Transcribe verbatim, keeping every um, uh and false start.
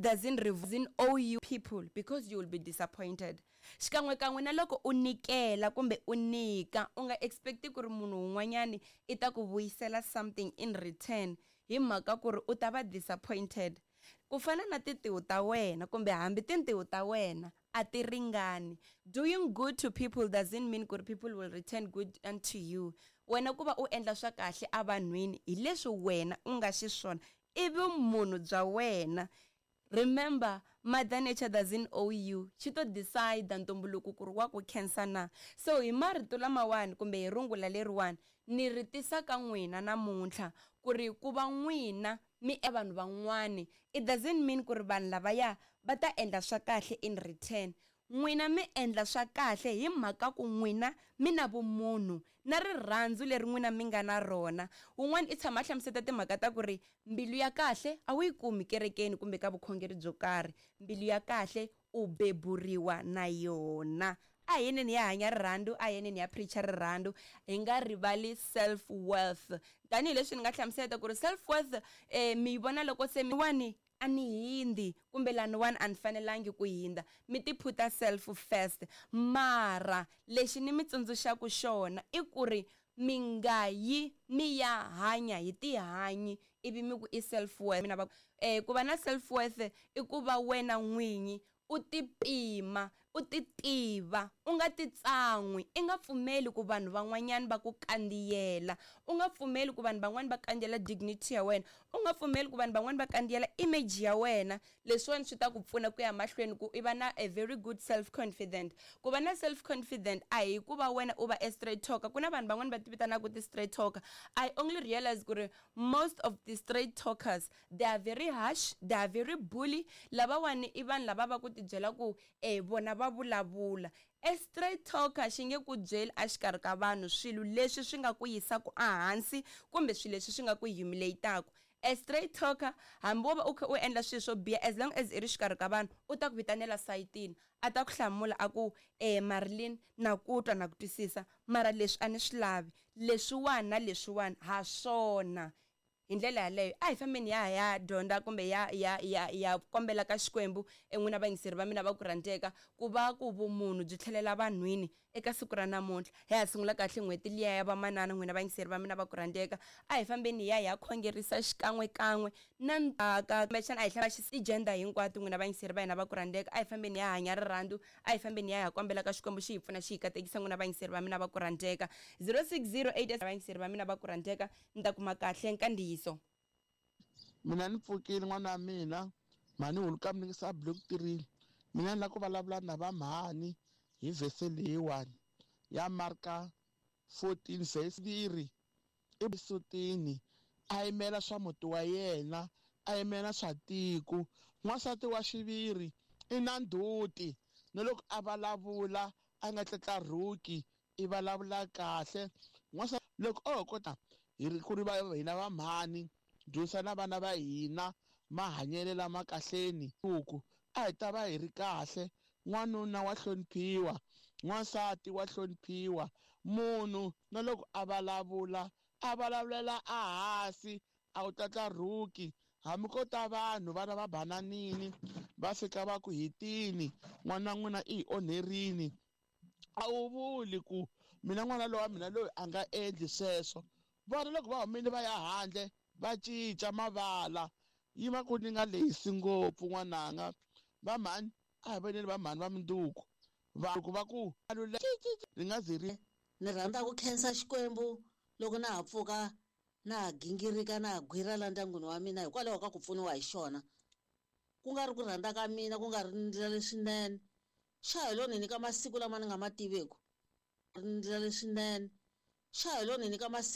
doesn't doesn't owe you people because you will be disappointed. Xikan'we kan'we na loko u nyikela kumbe u nyika, u nga expect ku ri munhu un'wanyani i ta ku vuyisela something in return, hi mhaka ku ri u ta va disappointed. Ku fana na tintiho ta wena kumbe hambi tintiho ta wena a ti ringani. Doing good to people doesn't mean ku ri people will return good unto you. Wena ku va u endla swa kahle evanhwini hi leswi wena u nga xiswona, i vumunhu bya wena. Remember, Mother Nature doesn't owe you. Xi to decide ntumbuluko ku ri wa ku khensa na. So hi marito lamawani kumbe hi rungula leriwani ni ri tisa ka n'wina namuntlha ku ri ku va n'wina mi e vanhu van'wani, it doesn't mean ku ri vanhu lavaya va ta endla swa kahle in return. N'wina mi endla swa kahle hi mhaka ku n'wina mi na vumunhu na rirhandzu leri n'wina mi nga na rona. Wun'wana i tshama a hlamuseta timhaka ta ku ri mbilu ya kahle a wu yi kumi kerekeni kumbe ka vukhongeri byo karhi, mbilu ya kahle u beburiwa na yona. A hi yeneni ya hanya rirhandzu, a hi yeneni ya preacher rirhandzu, hi nga rivali self worth. Tanihileswi ni nga hlamuseta ku ri self worth eh, mi yi vona loko se mi wani a ni hindzi kumbe laniwani a ni fanelangi ku hindza, mi ti phuta self first. Mara lexi ni mi tsundzuxaku xona i ku ri mi nga yi mi ya hanya hi tihanyi ivi mi ku i self worth. Mina va eh, ku va na self worth i ku va wena n'winyi u ti pima, u ti tiva, u nga ti tsan'wi, i nga pfumeli ku vanhu van'wanyana va ku kandziyela, u nga pfumeli ku vanhu van'wani va kandziyela dignity ya wena, u nga pfumeli ku vanhu van'wani va kandziyela image ya wena. Leswiwani swi ta ku pfuna ku ya mahlweni ku i va na a very good self confident. Ku va na self confident a hi ku va wena u va a straight talker. Ku na vanhu van'wani va ti vitanaka ti straight talker. I only realize ku ri most of the straight talkers, they are very harsh, they are very bully. Lavawani i vanhu lava va ku ti byela ku eh vona va vulavula. A straight talker xi nge ku byeli exikarhi ka vanhu swilo leswi swi nga ku yisaka ehansi kumbe swilo leswi swi nga ku humiliate-aku. A straight talker, hambi wo va u kha u endla swilo swo biha, as long as i ri xikarhi ka vanhu, u ta ku vitanela sayitini, a ta ku hlamula a ku eh Marilyn, na ku twa na ku twisisa, mara leswi a ni swi lavi, leswiwani na leswiwani ha swona. Hi ndlela yaleyo a hi fambeni ya ya dyondza kumbe ya ya ya ya kombela ka Xikwembu en'wina vayingiseri va mina va ku rhandzeka, ku va ku vumunhu byi tlhelela vanhwini eka siku ra namuntlha. Hi ha sungula kahle n'hweti liya ya vamanana, n'wina vayingiseri va mina va ku rhandzeka, a hi fambeni hi ya hi ya khongerisa xikan'we kan'we na ndzhaka kumbexana a hi hlaya ti-gender hinkwato. N'wina vayingiseri va hina va ku rhandzeka, a hi fambeni hi ya hanya rirhandzu, a hi fambeni hi ya hi ya kombela ka Xikwembu xi hi pfuna xi hi katekisa. N'wina vayingiseri va mina va ku rhandzeka, zero six zero eight vayingiseri va mina va ku rhandzeka, ni ta kuma kahle nkandziyiso. Mina ni pfukile n'wana wa mina, mhani huluka mi sa block three. Mina ni lava ku vulavula na va mhani hi vhese leyiwani ya Marka fourteen verse three. I sutini a yimela swa muti wa yena, a yimela swa tiko. N'wansati wa xiviri i na ndzhuti, na loko a vulavula a nga tlatlarhuki, i vulavula kahle. N'wansati loko o kota hi ri ku ri va hina va mhani dyondzisa na vana va hina mahanyelo lama kahleni, ku a hi ta va hi ri kahle. N'wanuna wa hloniphiwa, n'wansati wa hloniphiwa. Munhu na loko a vulavula a vulavulela ehansi, a wu tlatlarhuki. Hambi ko ta vanhu vana va bananini va fika va ku hitini, n'wana wa n'wina i hi onherini, a wu vuli ku mina n'wana lowa mina loyi a nga endli sweswo. Vona loko va humile va ya handle va cinca mavala, yi va ku ni nga lehisi ngopfu n'wananga. Va mhani a hi voneni va mhani va minduku, va loko va ku ri nga zi ri. Ni rhandza ku khensa Xikwembu loko na ha pfuka na ha gingirika na ha gwira la ndyangwini wa mina hikwalaho ka ku pfuniwa hi xona, ku nga ri ku rhandza ka mina, ku nga ri ndlela leswinene. Xa hi lo ni nyika masiku lama ni nga ma tiveku, ndlela leswinene. Xa hi lo ni nyika masiku